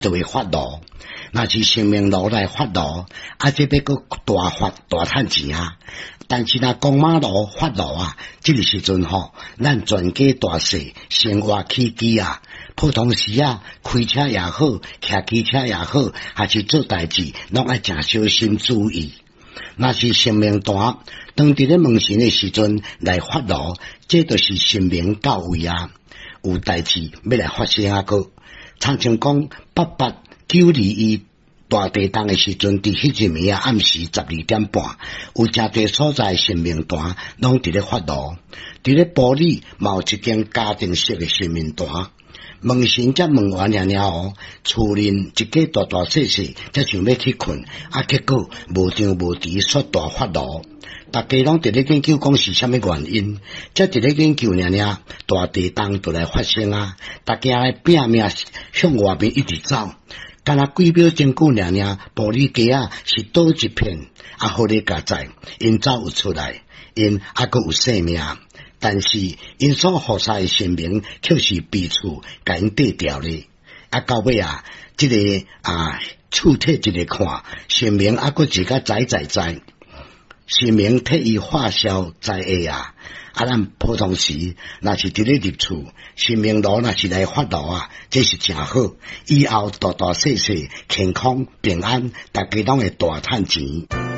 就會發爐。若是神明爐來發爐，啊，這欲閣大發大趁錢啊！但是若公媽爐發爐啊，這個時陣吼，咱全家大細生活起居啊，普通時啊，開車也好，騎機車也好，還是做代誌，攏愛誠小心注意。若是神明壇，當佇咧問神的時陣來發爐，這就是神明到位啊，有代誌欲來發生啊閣。親像講88 921大地動的時陣，佇彼一暝啊暗時12點半，有誠濟所在神明壇攏佇咧發爐。佇咧埔里嘛有一間家庭式的神明壇，問神才問完爾爾哦，厝內一家大大細細才想欲去睏，啊結果無張無遲煞大發爐。逐家攏佇咧研究講是啥物原因，才佇咧研究爾爾，大地動就來發生啊！逐家來拚命向外面一直走，敢若幾秒鐘久爾爾，埔里街仔是倒一片，啊好咧佳哉，𪜶走有出來，𪜶猶閣有性命，但是𪜶所服侍的神明卻是彼此共𪜶綴掉咧。啊到尾啊，這个啊厝體一个看，神明猶閣一個在在在。神明替伊化消災厄啊！啊，咱普通時若是佇咧入厝，神明爐若是來發爐啊，這是誠好。以後大大細細健康平安，逐家攏會大趁錢。